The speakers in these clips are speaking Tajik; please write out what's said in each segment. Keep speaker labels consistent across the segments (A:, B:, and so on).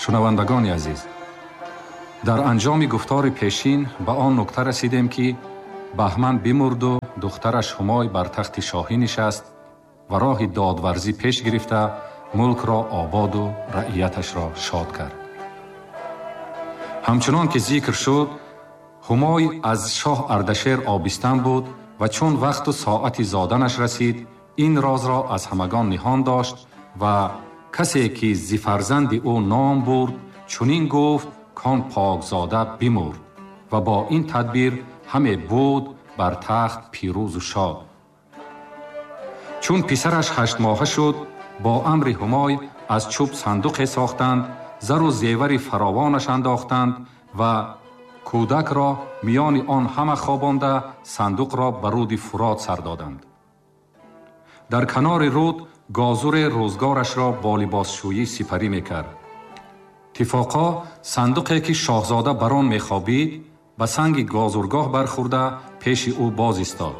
A: Шунавандагони азиз, дар анҷоми гуфтори пешин ба он нукта расидем, ки Баҳман бимурду духтараш Ҳумой бар тахти шоҳӣ нишаст ва роҳи додварзӣ пеш гирифта мулкро ободу раияташро шод кард. Ҳамчунон ки зикр шуд, Ҳумой аз шоҳ Ардашер обистан буд ва чун вақту соати зоданаш расид, ин розро аз ҳамагон ниҳон дошт ва касе ки зи фарзанди ӯ ном бурд, чунин гуфт: кон покзода бимурд. Ва бо ин тадбир ҳаме буд бар тахт пирӯзу шод. Чун писараш 8 моҳа шуд, бо амри Ҳумой аз чӯб сандуқе сохтанд, зару зевари фаровонаш андохтанд ва кӯдакро миёни он ҳама хобонда, сандуқро ба руди Фурот сар доданд. Дар канори руд гозуре рӯзгорашро бо либосшӯӣ сипарӣ мекард. Иттифоқо сандуқе, ки шоҳзода бар он мехобид, ба санги гозургоҳ бархӯрда, пеши ӯ боз истод.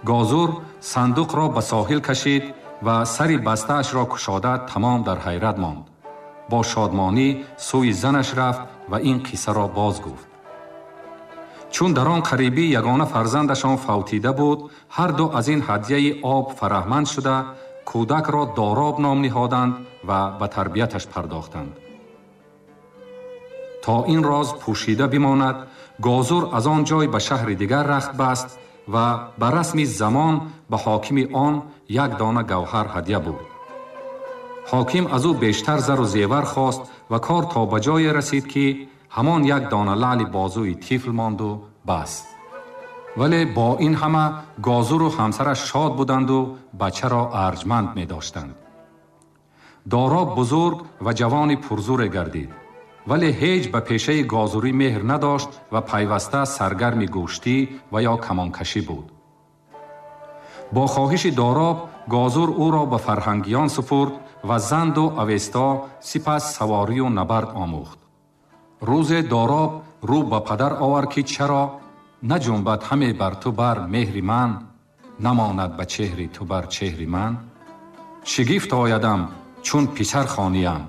A: Гозур сандуқро ба соҳил кашид ва сари бастаашро кушода, тамом дар ҳайрат монд. Бо шодмонӣ сӯи занаш рафт ва ин қиссаро боз гуфт. Чун дар он қарибӣ ягона фарзандашон фавтида буд, ҳарду аз ин ҳадяи об фараҳманд шуда, кӯдакро Дороб ном ниҳоданд ва ба тарбияташ пардохтанд. То ин роз пӯшида бимонад, гозур аз он ҷой ба шаҳри дигар рахт баст ва ба расми замон ба ҳокими он як дона гавҳар ҳадя бурд. Ҳоким аз ӯ бештар зару зевар хост ва кор то ба ҷое расид, ки ҳамон як дона лаъли бозуи тифл монду бас. Вале бо ин ҳама гозуру ҳамсараш шод буданду бачаро арҷманд медоштанд. Дороб бузург ва ҷавони пурзуре гардид, вале ҳеҷ ба пешаи гозурӣ меҳр надошт ва пайваста саргарми гӯштӣ ва ё камонкашӣ буд. Бо хоҳиши Дороб гозур ӯро ба фарҳангиён супурд ва занду Авесто, сипас саворию набард омӯхт. Рӯзе Дороб рӯ ба падар овард, ки чаро наҷунбад ҳаме бар ту бар меҳри ман, намонад ба чеҳри ту бар чеҳри ман? Шигифт оядам, чун писар хониям,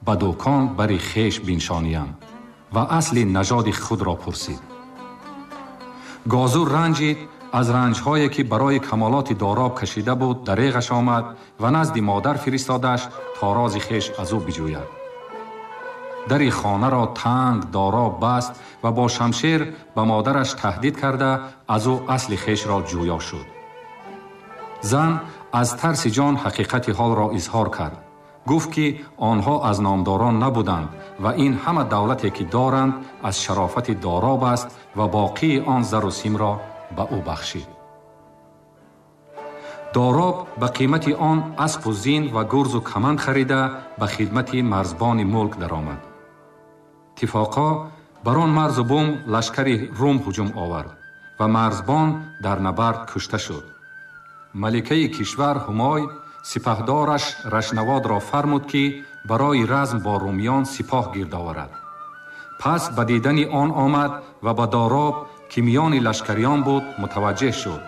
A: ба дӯкон бари хеш биншониям. Ва асли нажоди худро пурсид. Гозур ранҷид. Аз ранҷҳое, ки барои камолоти Дороб кашида буд, дареғаш омад ва назди модар фиристодаш, то рози хеш аз ӯ биҷӯяд. Дари хонаро танг Дороб баст ва бо шамшер ба модараш таҳдид карда, аз ӯ асли хешро ҷӯё шуд. Зан аз тарси ҷон ҳақиқати ҳолро изҳор кард. Гуфт, ки онҳо аз номдорон набуданд ва ин ҳама давлате, ки доранд, аз шарофати Дороб аст ва боқии он зару симро ба ӯ бахшид. Дороб ба қимати он аспу зин ва гурзу каманд харида, ба хидмати марзбони мулк даромад. Иттифоқо бар он марзу бум лашкари Рум ҳуҷум овард ва марзбон дар набард кушта шуд. Маликаи кишвар Ҳумой сипаҳдораш Рашнаводро фармуд, ки барои разм бо румиён сипоҳ гирд оварад. Пас ба дидани он омад ва ба Дороб, ки миёни лашкариён буд, мутаваҷҷеҳ шуд.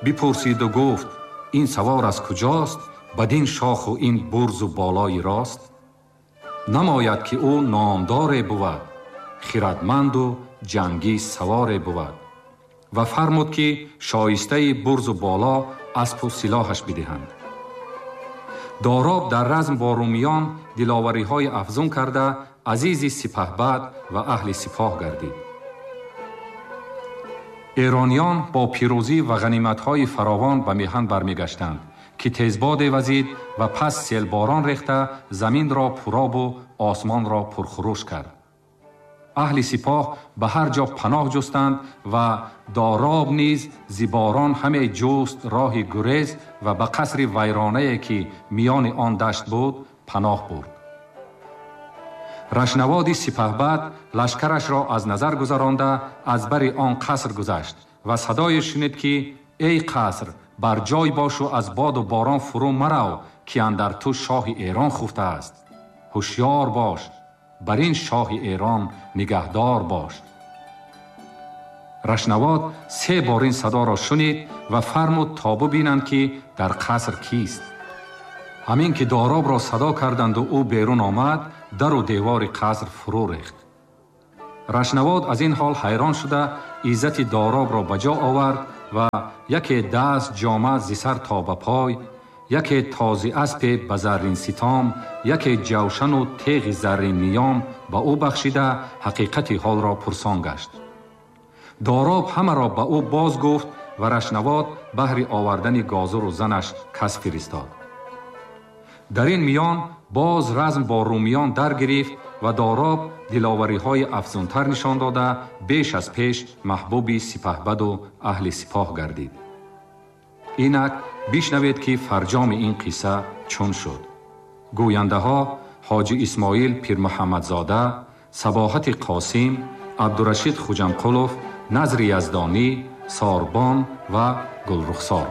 A: Бипурсиду гуфт: ин савор аз куҷост, бадин шоху ин бурзу болои рост? Намояд, ки ӯ номдоре бувад, хирадманду ҷангӣ саворе бувад. Ва фармуд, ки шоистаи бурзу боло аспу силоҳаш бидиҳанд. Дороб дар разм бо румиён диловариҳои афзун карда, азизи сипаҳбад ва аҳли сипоҳ гардид. Эрониён бо пирӯзӣ ва ғаниматҳои фаровон ба меҳан бармегаштанд, ки тезбоде вазид ва пас селборон рехта, заминро пуробу осмонро пурхурӯш кард. Аҳли сипоҳ ба ҳар ҷо паноҳ ҷустанд ва Дороб низ зи борон ҳаме ҷуст роҳи гурез ва ба қасри вайронае, ки миёни он дашт буд, паноҳ бурд. Рашнаводи сипаҳбад лашкарашро аз назар гузаронда, аз бари он қаср гузашт ва садое шунид, ки эй қаср, бар ҷой бошу аз боду борон фурӯ марав, ки андар ту шоҳи Эрон хуфтааст. Ҳушёр бош, бар ин шоҳи Эрон нигаҳдор бош. Рашнавод се бор ин садоро шунид ва фармуд, то бубинанд, ки дар қаср кист. Ҳамин ки Доробро садо карданду ӯ берун омад, дару девори қаср фурӯ рехт. Рашнавод аз ин ҳол ҳайрон шуда, иззати Доробро ба ҷо овард ва яке даст ҷома зи сар то ба пой, яке този аспе ба заррин ситом, яке ҷавшану теғи заррин ниём ба ӯ бахшида, ҳақиқати ҳолро пурсон гашт. Дороб ҳамаро ба ӯ боз гуфт ва Рашнавод баҳри овардани гозуру занаш кас фиристод. Дар ин миён боз разм бо румиён дар гирифт ва Дороб диловариҳои афзунтар нишон дода, беш аз пеш маҳбуби сипаҳбаду аҳли сипоҳ гардид. Инак бишнавед, ки фарҷоми ин қисса чун шуд. Гӯяндаҳо: Ҳоҷи Исмоил Пирмуҳаммадзода, Сабоҳати Қосим, Абдурашид Хуҷамқулов, Назри Яздонӣ, Сорбон ва Гулрухсор.